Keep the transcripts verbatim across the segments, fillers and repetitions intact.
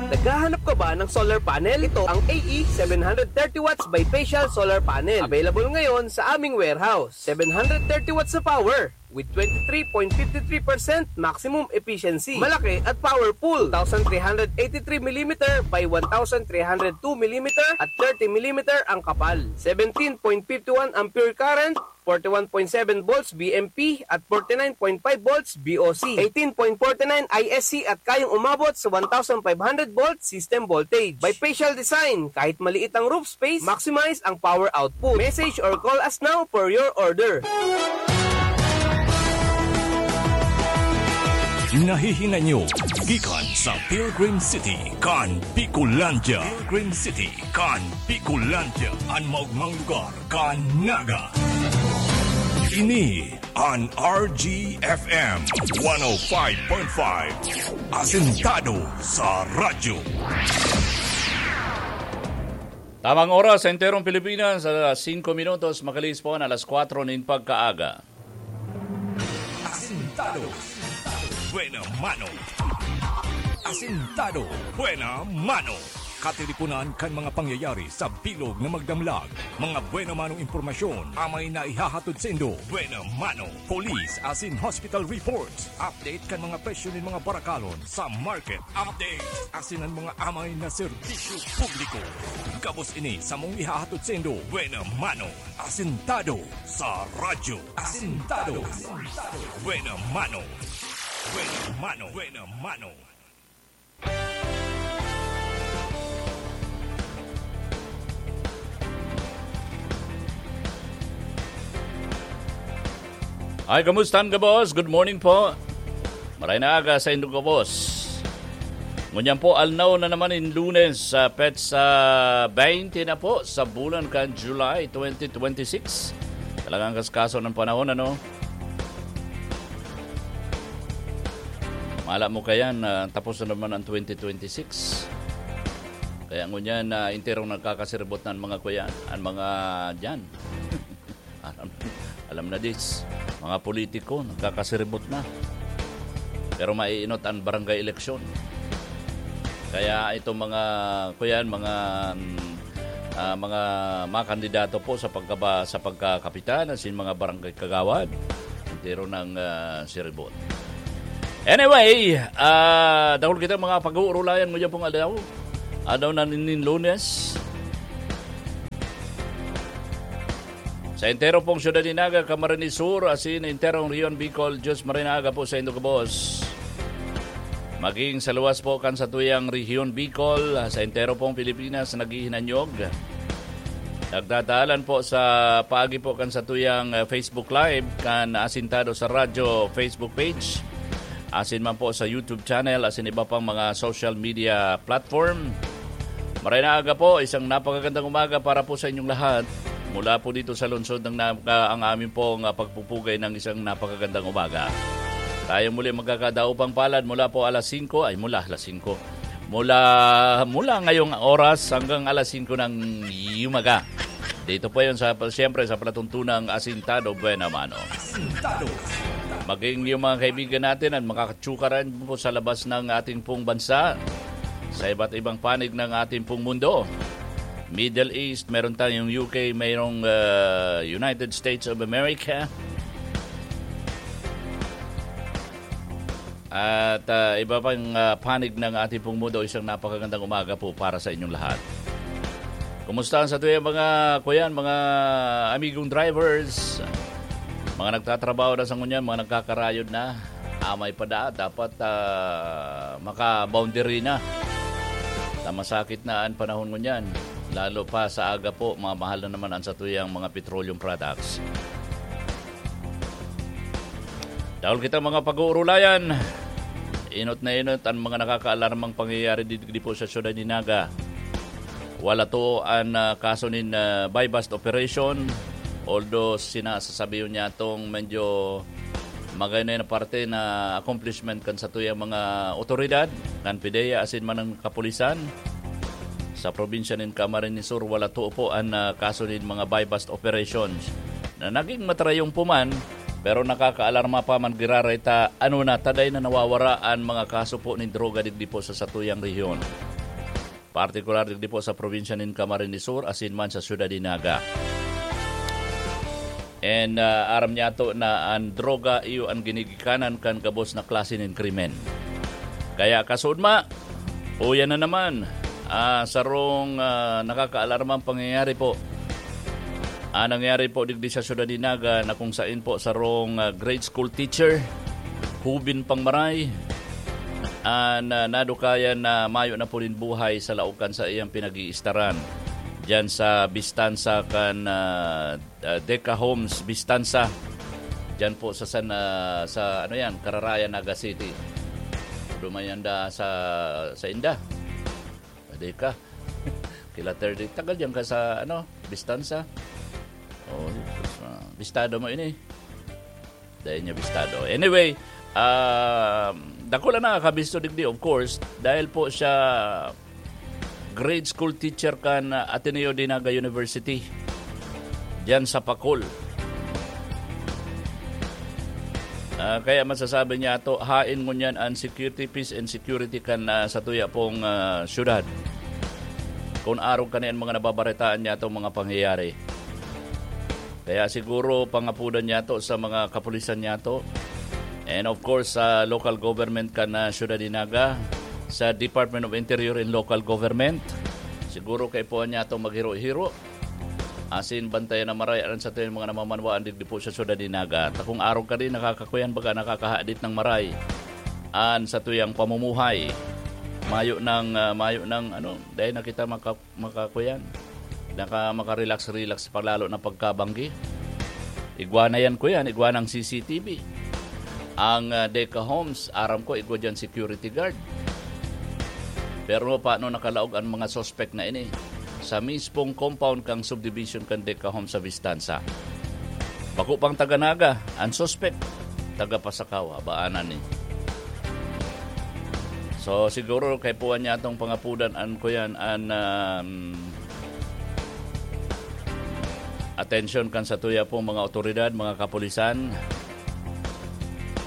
Naghahanap ka ba ng solar panel? Ito ang A E seven hundred thirty watts bifacial solar panel. Available ngayon sa aming warehouse. Seven hundred thirty watts na power with twenty-three point five three percent maximum efficiency. Malaki at powerful. Two thousand three hundred eighty-three millimeter by one thousand three hundred two millimeter at thirty millimeter ang kapal. Seventeen point five one ampere current, forty-one point seven volts V M P at forty-nine point five volts V O C, eighteen point forty-nine I S C at kayang umabot sa one thousand five hundred volt system voltage. Bifacial design, kahit maliit ang roof space, maximize ang power output. Message or call us now for your order. Nahihinay nyo gikan sa Pilgrim City, kan Bicolandia. Pilgrim City, kan Bicolandia, an maogmang lugar kan Naga. Ini an R G F M one oh five point five, asentado sa radyo. Tamang oras sa enterong Pilipinas, alas singko minutos, makalihis po an alas kwatro nin pagkaaga. Asentado. Buena mano. Asentado. Buena mano. Katiriponan kan mga pangyayari sa bilog na magdamlag. Mga buena manong impormasyon, amay na ihahatod saindo. Buena mano. Police asin hospital reports. Update kan mga presyo nin mga barakalon sa market. Update. Asin an mga amay na serbisyo publiko. Gabos ini samong ihahatod saindo. Buena mano. Asentado sa radyo. Asentado. Buena mano. Buena mano. Buena mano. Ay, kamusta an gabos? Good morning po. Maray na aga sa indo gabos. Ngunyan po, alnaw na naman in Lunes, sa petsa twenty na po sa bulan kan July twenty twenty-six. Talagang kaskaso ng panahon, ano? Mala mo kayan, ah, tapos na naman ang twenty twenty-six. Kaya ngunyan, ah, enterong nagkakasiribot na ang mga kuyan, ang mga dyan. Alam, alam na dis, mga politiko, nagkakasiribot na. Pero maiinot ang barangay eleksyon. Kaya itong mga, kuyan, mga, mm, ah, mga, mga kandidato po sa pagkaba-, sa pagkakapitan, asin mga barangay kagawad, entero ng, ah, siribot. Anyway, ah, dahil kita mga pag-uurulayan mo dyan pong aldaw, aldaw na nin Lunes. Sa entero pong syudad ni Naga, Camarines Sur, asin enterong Rehiyon Bicol, Diyos marhay na aga po sa indo gabos. Maging sa luwas po kan satuyang Rehiyon Bicol, sa entero pong Pilipinas, naghihinanyog. Nagdadalan po sa paagi po kan satuyang, eh, Facebook Live, kan Asintado sa Radyo Facebook page. Asin man po sa YouTube channel, asin iba pang mga social media platform. Maray na aga po, isang napakagandang umaga para po sa inyong lahat. Mula po dito sa lungsod ng Naga, ang amin pong, ah, pagpupugay ng isang napakagandang umaga. Tayo muli magkakadaupang palad mula po alas singko, ay, mula alas singko. Mula, mula ngayong oras hanggang alas singko ng umaga. Dito po yun sa, siyempre, sa palatuntunang Asintado Buena Mano. Asintado. Maging yung mga kaibigan natin at makakatsukaran po sa labas ng ating pong bansa, sa iba't ibang panig ng ating pong mundo. Middle East, meron tayong U K, mayroong, ah, United States of America. At, ah, iba pang, ah, panig ng ating pong mundo, isang napakagandang umaga po para sa inyong lahat. Kumusta ang satuyang mga, kuyan, mga amigong drivers? Mga nagtatrabaho na sa ngunyan, mga nagkakarayod na. Amay pa da, dapat, ah, maka-boundary na. Ta masakit na ang panahon ngunyan. Lalo pa sa aga po, mamahal na naman ang satuyang mga petroleum products. Dahil kita mga pag-uurulayan, inot na inot ang mga nakakaalarmang pangyayari di, di po sa siyudad ni Naga. Wala to ang, ah, kaso nin, ah, buy-bust operation. Although sinasasabi yun niya tong medyo magay na yung parte na accomplishment kan satuyang mga otoridad, kan PDEA asin man ang kapulisan. Sa probinsya nin Camarines Sur, wala to po ang, ah, kaso nin mga buy-bust operations. Na naging matrayong po man, Pero nakakaalarma pa man giraray ta, ano na, taday na nawawara an mga kaso po nin droga digdi po sa satuyang rehiyon. Partikular digdi po sa probinsya nin Camarines Sur, asin man sa Syudad nin Naga. And, ah, aram niyato na an droga iyo an ginigikanan kan gabos na klase nin krimen. Kaya kasunod ma, uyan na naman, ah, sarong, ah, nakakaalarmang pangyayari po. Ah, nangyari po digdi sa Syudad nin Naga na kung sain po sarong, ah, grade school teacher, hubin pang maray, ah, na nadukayan na mayo na po nin buhay sa laog kan saiyang pinag-iistaran. Diyan sa Bistansa kan, ah, ah, Deca Homes, Bistansa. Diyan po sa San, ah, sa ano yan, Cararaya, Naga City. Dumayan da sa, sa Inda. Deca. Kila thirty. Tagal diyan ka sa, ano, Bistansa. Oh, ah, bistado mo ini. Dahil niya bistado. Anyway, um, dakula na kakabisto digdi, of course, dahil po siya grade school teacher kan, uh, Ateneo de Naga University, diyan sa Pacol. Ah, kaya masasabi niya to, hain ngunyan an security, peace and security kan, ah, sa tuya pong, ah, syudad. Kung arog kani an mga nababaretaan niya itong mga pangyayari. Kaya siguro pangapudan niya to sa mga kapulisan niya to. And of course, sa local government kan, ah, syudad ni Naga, sa Department of Interior and Local Government. Siguro kaipuhan niya to maghiro-hiro. Asin bantayan na maray an satuyang mga namamanwaan digdi po sa syudad ni Naga. Ta kung arog kani, nakakakuyan baga, nakakahadit ng maray an satuyang pamumuhay. Mayo ng, ah, mayo ng, ano, dahil na kita maka-, makakuyan. Naka-, makarelax-relax pa lalo na pagkabanggi. Igwa na yan, kuyan, igwa ng C C T V. Ang, ah, Deca Homes, aram ko, igwa dyan security guard. Pero paano nakalaog ang mga suspect na ini? Sa mispong compound kang subdivision kan Deca Homes sa Bistansa. Bako pang taga Naga, ang suspect, taga Pasacao, abaanan ni. So, siguro kaipuhan niya atong pangapudan an, kuyan, an, um, atensyon kan satuya pong mga otoridad, mga kapulisan.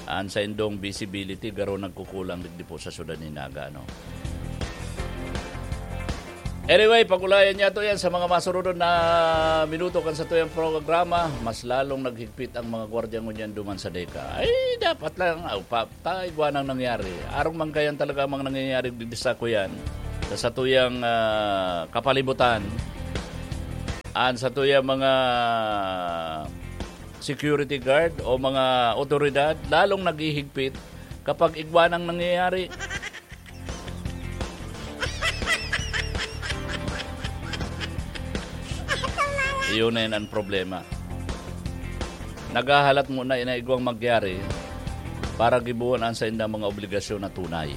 An saindong visibility, garo nagkukulang digdi po sa syudad ni Naga, no? Anyway, pag-ulayan niya to yan sa mga masunod na minuto kan satuyang programa, mas lalong naghigpit ang mga gwardiya ngunyan duman sa Deca. Ay, dapat lang, aw, pa, ta, igwa nang nangyari. Arog man kayan talaga mga nangyayari digdi sa kuyan, sa satuyang, ah, kapalibutan. An satuyang mga security guard o mga otoridad, lalong naghihigpit kapag igwa nang nangyayari. Iyon na yun ang problema. Naghahalat muna na igwang magyari para gibohon an saindang mga obligasyon na tunay.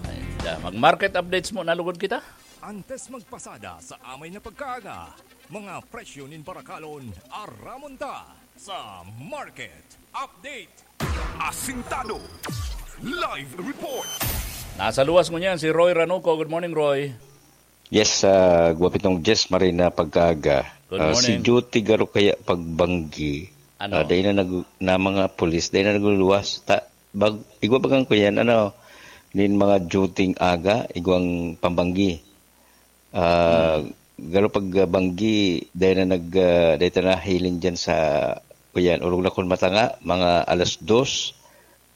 Ay, da, mag-market updates muna lugod kita. Antes magpasada sa amay na pagkaaga, mga presyo nin barakalon, aramon ta sa Market Update. Asintado. Live report. Nasa luwas ngunyan si Roy Ranuco. Good morning, Roy. Yes, ah, Guwapitong Jess, Marina, pagkaaga. Good Ah, si morning. Duty garo kaya pagbanggi. Ano? Ah, dahil na nag-, na mga pulis, dahil na nagluluwas. Ta-, bag-, igwa bagang ko yan, ano, nin mga duty aga, igwang pambanggi. Ah, Hmm. Garo pag, ah, banggi, dahil na nag, ah, dahil na hiling dyan sa, kuyan, urog na kun matanga, mga alas dos,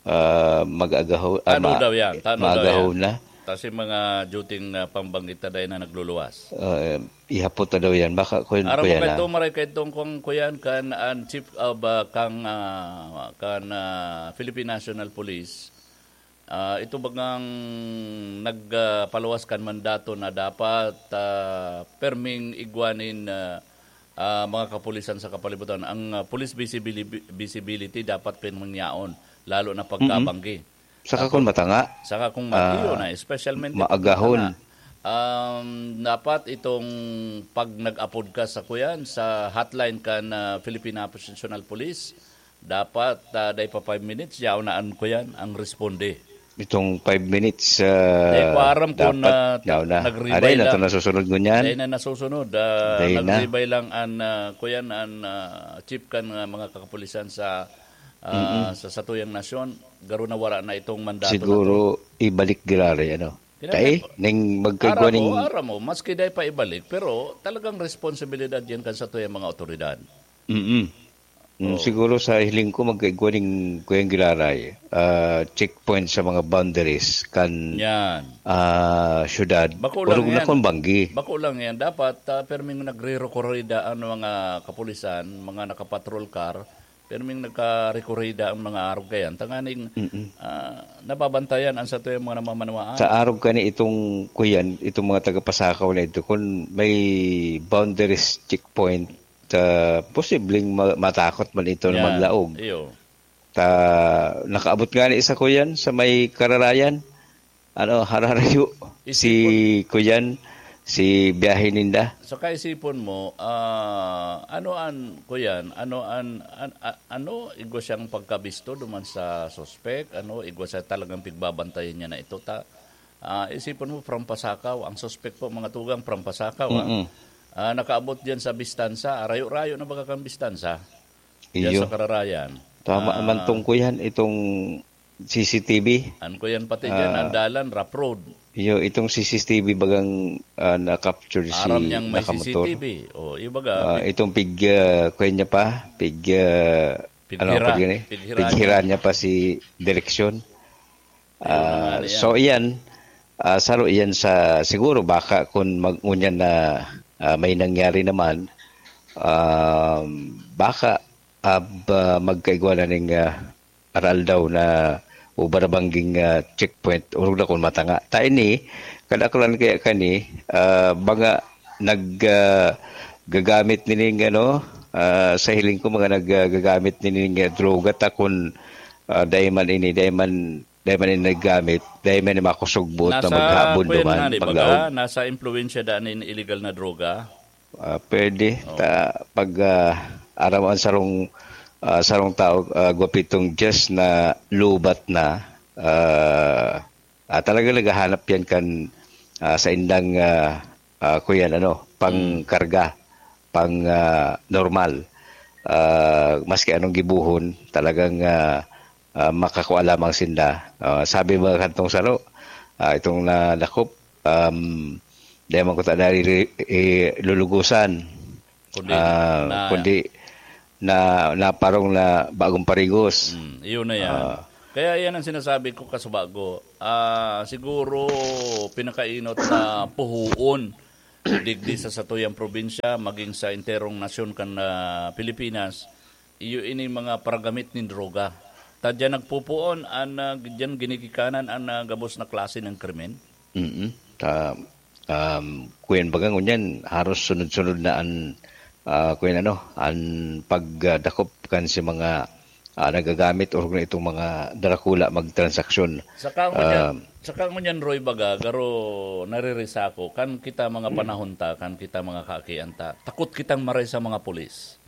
ah, mag-agaho-, ah, Tano ma-, daw yan, tano daw maagaho yan. Na. Kasi mga duty, ah, pambanggi ta dahil na nagluluwas. Ah, ihapot na daw yan. Baka, kuyan, Aram mo kuyan, kay ah. Ito, maray kay itong kung kuyan kan, ang chief of, ah, kang, ah, kan, ah, Philippine National Police, Ah, ito bagang nag, ah, paluwas kan mandato na dapat, ah, perming igwa nin, ah, ah, mga kapulisan sa kapalibutan. Ang, ah, police visibili-, visibility dapat perming yaon, lalo na pagkabanggi. Mm-mm. Saka Tapos, kung matanga, saka kung matiyo ah, na, especially maagahon. Matanga. Um, dapat itong pag nag-apod ka sa kuyan, sa hotline kan, ah, Philippine National Police, dapat, ah, dai pa five minutes, yaon na an kuyan, ang responde. itong five minutes, ah, Di ko aram kung, dapat ah, ta-, nauna. Nagribay Aray, na lang. Ito nasusunod ngunyan. Dahil na nasusunod, ah, Dahil na. Nagribay lang an, ah, kuyan, an, ah, chief kan, ah, mga kakapulisan sa, ah, Mm-mm. sa satuyang nasyon. Garo na wara na itong mandato na Siguro, to. Ibalik giraray, ano? Kaya Tae, po, ning magkaigwa aram mo, ning aram mo, maski dai pa ibalik, pero talagang responsibilidad yan kan satuyang mga otoridad. Mm-mm. Mm, Oo. Siguro sa hiling ko, magkaigwa ning kuyang giraray, ah, checkpoint sa mga boundaries kan, Yan. ah, syudad. Bako lang Orog na yan. Kun banggi. Bako lang yan. Dapat, ah, perming nagre-rekorida ang mga kapulisan, mga nakapatrol car, perming nagkarekorida ang mga arog kayan. Tanganing, Mm-mm. ah, nababantayan ang satuyang mga namamanwaan. Sa arog kani itong kuyan, itong mga taga-Pasakaw na ito, kung may boundaries checkpoint, ah, posibleng ma-, matakot man ito na Yan. Maglaog. Iyo. Ta, nakaabot nga ni isa ko yan sa may kararayan. Ano, hararayo. Si Isipon. Kuyan, si biyahe ninda. So, kaisipon mo, ah, ano an, Kuyan, ano an, an, a-, ano, igwa siyang pagkabisto duman sa suspek? Ano, igwa siya talagang pigbabantayan niya na ito? Ta, ah, isipon mo, from Pasakaw, ang suspek po, mga tugang, from Pasakaw, ah. Mm-mm. Ah, nakaabot diyan sa Bistansa, arayo-rayo na baga kang Bistansa. Diyan Iyo. Sa Kararayan. Tama Ah, man tong kuyan, itong C C T V. An kuyan pati diyan, Ah. Ang dalan, rough road. Iyo, itong C C T V bagang, ah, na-capture si Aram niyang may nakamotor. C C T V. O, ibaga, Ah, pig- itong pig, ah, kuyan niya pa, pig, ah, ano, Pighira. Pag yun eh? Pighira Pighira niya. Niya pa si direksyon. Ayun na nga Ah, na yan. So, iyan, ah, saro iyan sa, siguro baka kung mag-, ngunyan na, ah, may nangyari naman, um, baka, ah, ba-, magkaigwa na ning, ah, aral daw na o barabangging, ah, checkpoint, orog na kung matanga. Ta ini, kadaklan kaya kani, ah, mga nag, ah, gagamit nining ano, ah, sa hiling ko, mga nag, ah, gagamit nining, ah, droga ta kun, ah, dai man ini, dai man, dai man ini naggamit, dai man ini makusog buot na Nasa maghabon kuyan duman, na, di ba maglaog. Ka? Nasa impluwensya daan nin illegal na droga? Ah, pwede. Oo. Ta, pag, ah, aram ang sarong, ah, sarong tao, ah, gwapitong just na lubat na, ah, ah, talaga naghahanap yan kan, ah, sa indang, ah, ah, kuyan, ano, Mm. pangkarga, pang, ah, normal. Ah, maski anong gibohon, talagang, ah, ah, makakua lamang sinda. Ah, sabi mga kantong saro, ah, itong nadakop, um, di man ko ta dari-, i-, lulugusan. Kundi Ah, na kundi na, naparong na bagong parigos. Mm, iyon na yan. Ah. Kaya yan ang sinasabi ko, kasubago. Ah, siguro pinakainot na puhuon digdi sa satuyang probinsya, maging sa enterong nasyon kan, ah, Pilipinas, iyo ini mga paragamit nin droga. Ta diyan nagpupuon an, ah, diyan ginigikanan an, ah, gabos na klase ng krimen. Mm. Ta, um, kuyan baga ngunyan, haros sunod-sunod na an, ah, kuyan ano, an pagdakop kan si mga, ah, nagagamit orog na itong mga darakula magtransaksyon. Saka ngunyan, Um, saka ngunyan, Roy, baga, garo naririsa ako, kan kita mga panahon ta, kan kita mga kaakian ta, takot kitang maray sa mga pulis.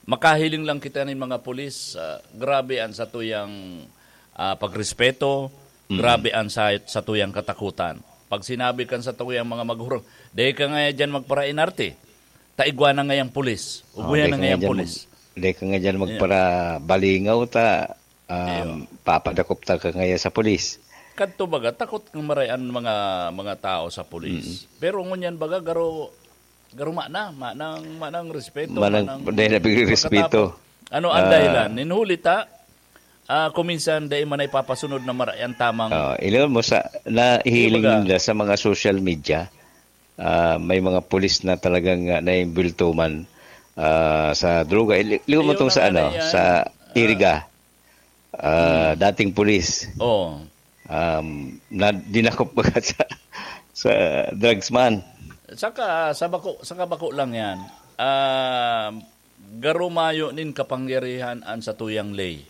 Makahiling lang kita nin mga pulis, ah, grabe an satuyang, ah, pagrespeto, Mm. grabe an sa-, satuyang katakutan. Pag sinabi kan satuyang mga maghurong, "Dai ka ngaya diyan magparainarte, ta igwa na ngayang pulis, Oh, ubuyan dai na ka ngayang ngaya diyan pulis." Mag-, dai ka ngaya diyan Yeah. magparabalingaw ta, um, Iyo. papadakop ta ka ngaya sa pulis. Kadto baga, takot ng maray an mga, mga tao sa pulis. Mm. Pero ngunyan baga, garo, Garuma na, manang, manang respeto, Manang, manang dahil na pagrespeto. Pagkatapos. Ano ang Ah. dahilan? Ninhuli ta, ah, kuminsan dai man naipapasunod na maray ang tamang Ah, ilan mo sa, nahihiling Kumbaga. nila sa mga social media, ah, may mga pulis na talagang, ah, naimbulto man, ah, sa droga. Ili-, liwan mo Ayun tong na sa nga ano, na yan. sa Ah. Iriga. Ah, Hmm. dating pulis. Oo. Um, na dinakop baga sa, sa drugs man. Saka, sa bako, saka bako lang yan. Ah, garo mayo nin kapangyarihan an satuyang ley.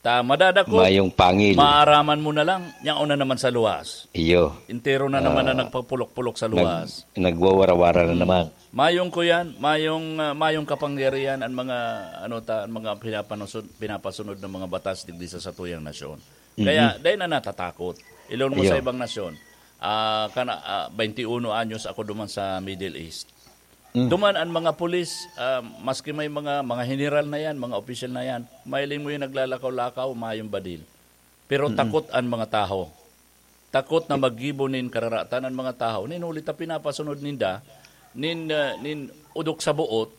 Ta, madadakop, Mayong pangil. maaraman mo na lang, yaon na naman sa luwas. Iyo. Entero na naman na Ah, nagpapulok-pulok sa nag-, luwas. nagwawara-wara na Hmm. naman. Mayong kuyan, mayong, ah, mayong kapangyarihan ang mga, ano ta, ang mga pinapanusun-, pinapasunod ng mga batas digdi sa satuyang nasyon. Kaya, dai na natatakot. Ilon mo sa Iyo. ibang nasyon, ah, kana, ah, bainti uno anyos ako duman sa Middle East. Mm. Duman an mga pulis, ah, maski may mga, mga heneral na yan, mga opisyal na yan, mahiling mo yung naglalakaw-lakaw, mayong badil. Pero Mm. takot an mga taho. Takot na maggibo nin kararatan an mga taho. Nin huli ta pinapasunod ninda, nin, ah, nin udok sa buot,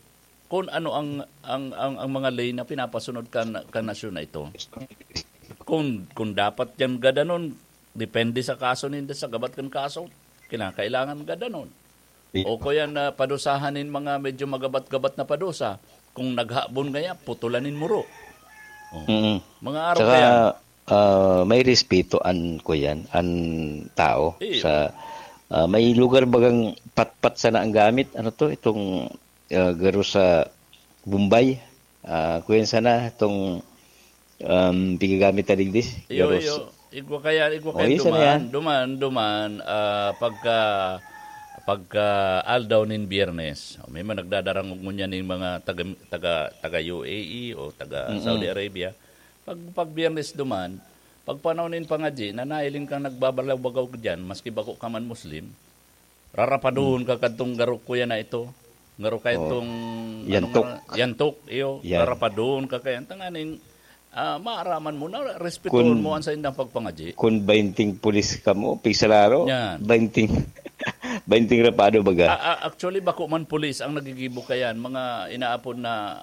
kung ano ang, ang, ang, ang mga ley na pinapasunod kan, kan nasyon na ito. Kung, kung dapat yan gadanon, depende sa kaso ninda, sa gabat kan kaso, kinakailangan gadanon. Di- O kaya na padusahan nin mga medyo magabat-gabat na padusa, kung naghabon ngaya, putulan nin muro. Oh. Mm. Mga araw Saka, kaya. ah, may respeto an, kuyan, an tao Iyo. sa, ah, may lugar bagang patpat sana ang gamit. Ano to? Itong, ah, garo sa Bombay. Ah, kuyan sana itong, um, pigagamit na digdi. Iyo, Garo iyo. sa Igwa kaya, igwa Oh, kaya isa na duman, yan. duman, duman, ah, pagka, pagka aldaw nin Biyernes. May mga nagdadarangog ngunyan ning mga taga, taga, taga U A E o taga Mm-mm. Saudi Arabia. Pag, pag Biyernes duman, pag panahon nin pangadyi, na nahiling kang nagbabalaw-bagaw diyan, maski bako ka man Muslim, rarapaduhon ka kadtong garo kuya na ito. Garo ka Oh. itong, Yantok. ano nga, yantok, iyo. Yan. Rarapaduhon ka kaya. Tanganing, ah, maaraman mo na, respetuhon Kun- mo an saindang pagpangadyi. Kun bainting pulis ka mo, pigsararo, Yan. bainting, bainting rapado baga. Ah, ah, actually, bako man pulis ang nagigibo kayan. Mga inaapod na,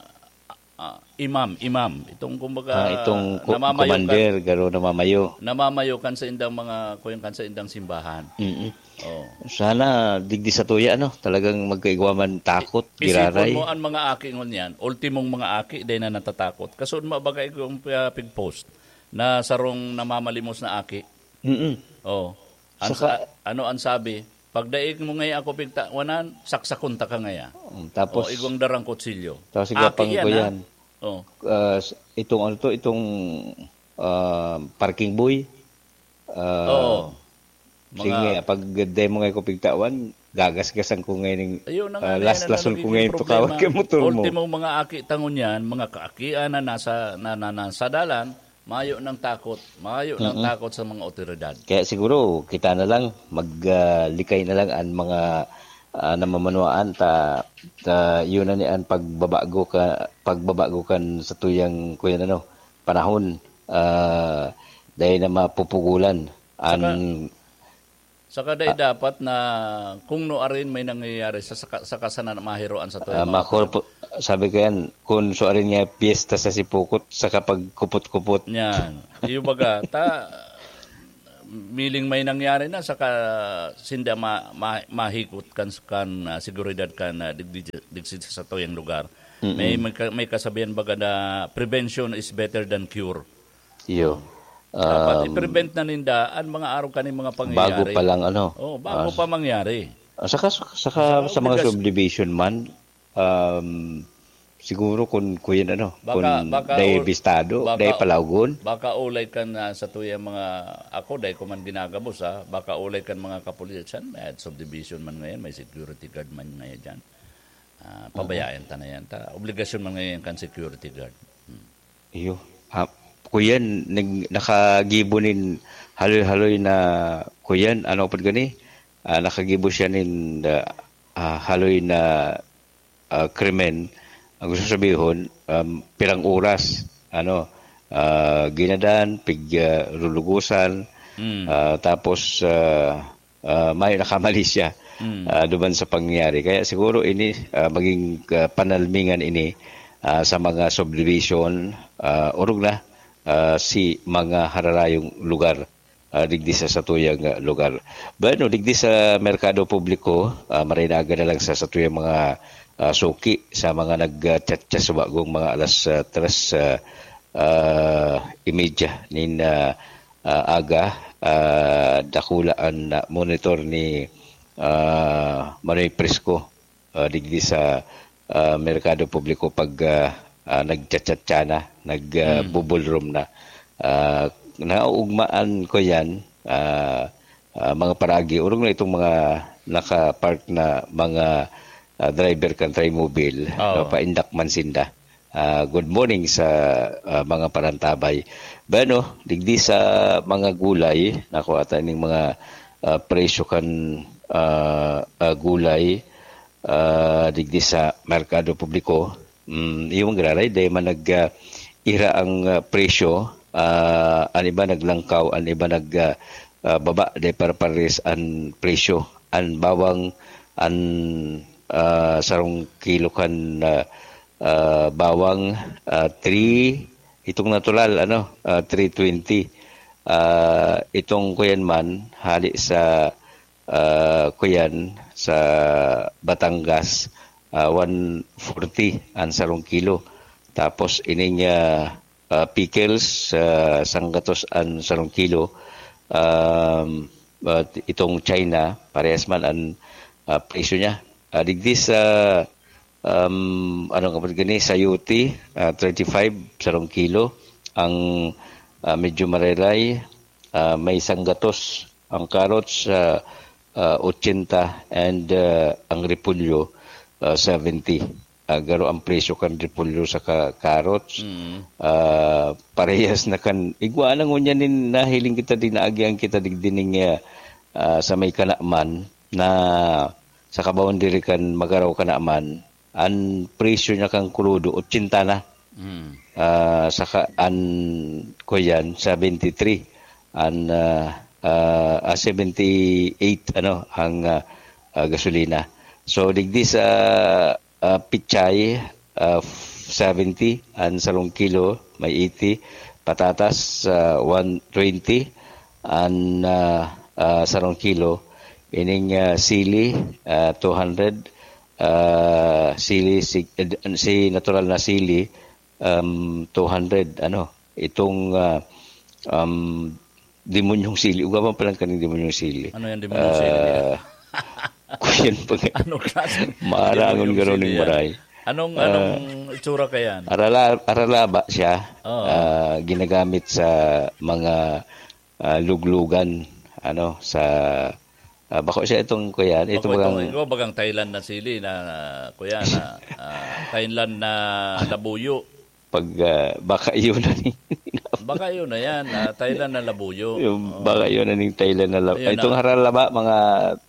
ah, imam, imam. Itong, kumbaga, Ah, itong ku-, namamayo kan commander, garo namamayo. namamayo kan saindang mga, kuyan kan saindang simbahan. Mm. Oh. Sana digdi sa tuya, ano, talagang magkaigwa man takot, Isipon giraray. mo an mga aki ngunyan, ultimong mga aki, dai na natatakot. Kasunod mo, baga igong, ah, pig-post na sarong namamalimos na aki. Mm-mm. Oh. An Saka sa-, ano an sabi? "Pag daig mo ngaya ako pigtawanan, saksakon ta ka ngaya." Mm, tapos Oh, igwang darang kutsilyo. Tapos igwa Aki pang yan, ha? kuyan. Oh. Ah, s-, itong ano to, itong, ah, parking boy. Ah, Oo. sige, Mga pag dai mo ngaya ako pigtawan, gagasgasan ko ngayon yung, Ayun na nga, ah, yan ang last-lason ko nagiging ngayon to problema. kawat kay motor mo. Ultimo, mga aki tangon yan, mga kaakian na nasa, na, na, nasa dalan, mayo ng takot, mayo ng Mm-mm. takot sa mga otoridad. Kaya siguro, kita na lang, mag, ah, likay na lang ang mga, ah, namamanuaan ta, ta, yun na ni ang pagbabago ka, pagbabago kan sa tuyang, kuyan ano, panahon, ah, dahil na mapupugulan an Saka, saka dai Ah. dapat na kung no arin may nangyayari sa, saka, saka sana mahiroan sa Ah, tuyo, mga makorpo-, sabi ko yan, kung so arin nga piyesta sa sipukot, sa kapagkupot-kupot. Yan. Iyo baga, ta, miling may nangyari na, saka sinda ma-, ma-, mahikot kan, kan, ah, seguridad kan, ah, dig-, dig-, digsi sa tuyang lugar. Mm-mm. May, may ka-, may kasabihan baga na prevention is better than cure. Iyo. Dapat Um, i-prevent na ninda an mga araw kaning mga bago pangyayari. pa lang, ano, Oh, bago ah, pa mangyari. ah, saka, saka Saka sa mga obligas- subdivision man, um, siguro kung, kuyan, ano, Baka, kung baka dai ul-, bistado, baka, dai palawgon. baka ulay kan, ah, sa tuyang mga, ako, dai ko man ginagabos, ah, baka ulay kan mga kapulisan, may subdivision man ngayon, may security guard man ngayon dyan. Ah, Oo. pabayaan ta na yan. Ta, obligasyon man ngayon kan security guard. Hmm. Iyo. Ah, kuyan, nag-, nakagibo nin haloy-haloy na, kuyan, ano pod gani? Ah, nakagibo siya nin, ah, ah, haloy na, ah, krimen. Ang gusto sabihon, um, pirang oras, ano, ah, ginadan, pig, ah, lulugusan, Mm. ah, tapos, ah, ah, may nakamali siya, Mm. ah, duman sa pangyayari. Kaya siguro ini, ah, maging, ah, panalmingan ini, ah, sa mga subdivision, ah, orog na, ah, si mga hararayong lugar, ah, digdi sa satuyang, ah, lugar. Bueno, digdi sa merkado publiko, ah, marinaga na lang sa satuyang mga, ah, suki, sa mga nag, ah, chat-chat sa bagong mga alas, ah, tres, ah, ah, imedya nin, ah, ah, aga, ah, dakula an, ah, monitor ni, ah, Manoy Prisco, ah, digdi sa, ah, merkado publiko pag, ah, ah, nagchatchatcha na, nag, ah, Hmm. bubulrom na. Ah, naugmaan ko yan, ah, ah, mga paragi, orog na itong mga naka-park na mga, ah, driver kan Trimobile, Oo. no, paindak man sinda. Ah, good morning sa, ah, mga parantabay. Bueno, digdi sa mga gulay, nakuha ta ning mga, ah, presyo kan, ah, ah, gulay, ah, digdi sa merkado publiko. Mm, yung giraray, dahil man nag, ah, ira ang, ah, presyo, ah, an iba naglangkaw, an iba nag, ah, ah, baba, dahil para pares an presyo. An bawang, an, ah, sarong kilo kan, ah, ah, bawang, ah, three, itong natural, ano, ah, three twenty. Ah, itong kuyan man, hali sa, ah, kuyan, sa Batangas, ah, one forty an sarong kilo. Tapos ining, ah, ah, pickles, ah, sanggatos an sarong kilo. Um, at itong China, parehas man an, ah, presyo niya. Ah, digdi sa, um, ano nga ba gani, sayote, ah, thirty-five sarong kilo. Ang, ah, medyo mareray, ah, may sanggatos. Ang carrots, ah, ah, ochenta, and, ah, ang repolyo, ah, seventy. Ah, garo ang presyo kan repolyo saka carrots. Mm. Ah, parehas na kan, igwa na ngunyan nin nahiling kita, din naagihan kita digdi ning, ah, ah, sa may Kanaman na sa kaboundary kan Magaraw, Kanaman, an presyo niya kan krudo, ochenta na. Mm. Ah, saka an, kuyan, seventy-three. An, ah, ah, ah, seventy-eight, ano, ang, ah, ah, gasolina. So, digdi sa, ah, pichay, ah, seventy, an sarong kilo, may eighty. Patatas, ah, one twenty, an, ah, ah, sarong kilo. Ining, ah, sili, ah, two hundred. Ah, sili, si, eh, si natural na sili, um, two hundred, ano, itong, ah, um, demonyong sili. Ugaban pa lang kaning demonyong sili. Ano yung demonyong sili? Ah, kuyan pa nga. Anong klaseng Marangon demonyong garo sili ning yan? Maray. Anong, Ah, anong itsura ka yan? Arala-, aralaba siya. Oo. Ah, ginagamit sa mga, ah, luglugan, ano, sa, ah, bako siya itong, kuyan, ito Bako itong, bagang ikaw, bagang Thailand na sili na, kuyan, na, ah, Thailand na labuyo. Pag, ah, baka yun na ni Baka yun na yan, ah, Thailand na labuyo. Yung Oo. baka yun na ning Thailand na lab-, Ayun itong na. haralaba, mga,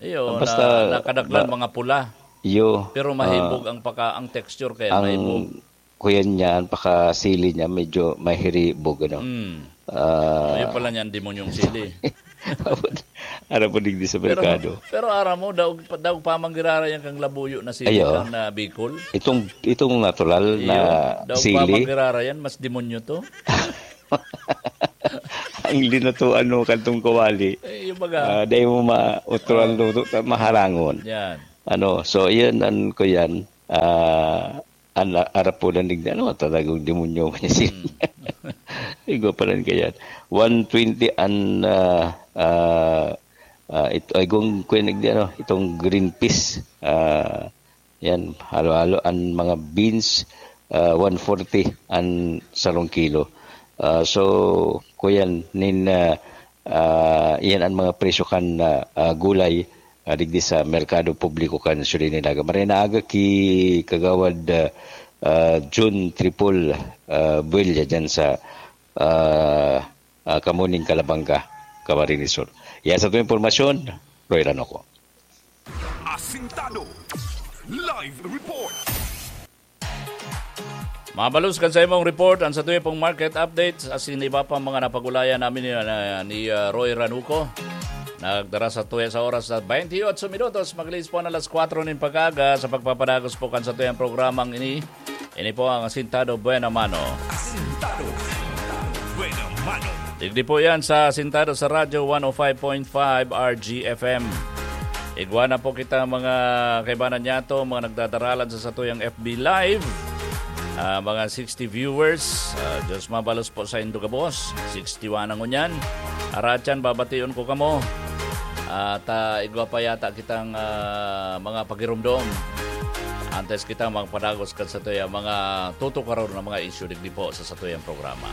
Iyo, basta na, nakadaklan, ma-, mga pula. Iyo, Pero ah, mahibog ang paka-, ang texture kaya ang mahibog. kuyan niya, ang pakasili niya, medyo mahiribog, ano. Mm. Ah, Ayun pala niyan, demonyong sili. Ara po digdi sa Pero, merkado. pero aram mo, daog, daog pa man girarayan kang labuyo na sili Ayo. kan, ah, Bicol. Itong, itong natural na Iyo, daog pa sili. man girarayan, mas demonyo to. Ang linatuan mo kantong kawali. Eh, yung baga. Ah, dahil mo ma-, utro ang Oh. luto, ta-, maharangon. Yan. Ano, so, iyan, an, ko yan. Ah, an, arapulan digdi, ano, talagang demonyo man yan. Hmm. Igwa pa rin kaya. One twenty an, ah, ah, ah, ito, ay, kung, kung, ano, itong green peas, ah, yan, halo-halo an mga beans, ah, one forty an sarong kilo. Ah, so, kuyan, nin, ah, ah, iyan an mga presyo kan, ah, ah, gulay, ah, digdi sa merkado publiko kan Siyudad nin Naga. Maray na aga ki Kagawad, ah, ah, Jun Tripol, ah, Buella dyan sa, ah, ah, Kamuning, Calabanga, Camarines Sur. Yan sa itong impormasyon, Roy Ranoco. Asintado. Live report. Mabalos kan sa imong report, ang sa tuya pong market updates, asin iba pang mga napagulayan namin ni, ah, ni, ah, Roy Ranuco. Nagdara sa tuya sa oras na twenty-eight minutos, maglilis po na alas kwatro nin pag-aga sa pagpapadagos po kan sa tuyang programang ini. Ini po ang Asintado Buena Mano. Asintado Buena Mano. Digdi po yan sa Asintado sa Radyo one oh five point five R G F M. Igwa na po kita, mga kaibanan niyato, mga nagdadaralan sa satuyang F B Live. Ah, mga sixty viewers. Ah, Diyos mabalos po sa indo gabos. Sixty-one ang ngunyan. Aratyan, babation ko kamo. At, ah, igwa pa yata kitang, ah, mga pagirumdom. Antes kita magpadagos kan satuya, mga tutukaron na mga isyu digdi po sa satuyang programa.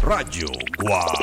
Radyo Guwang.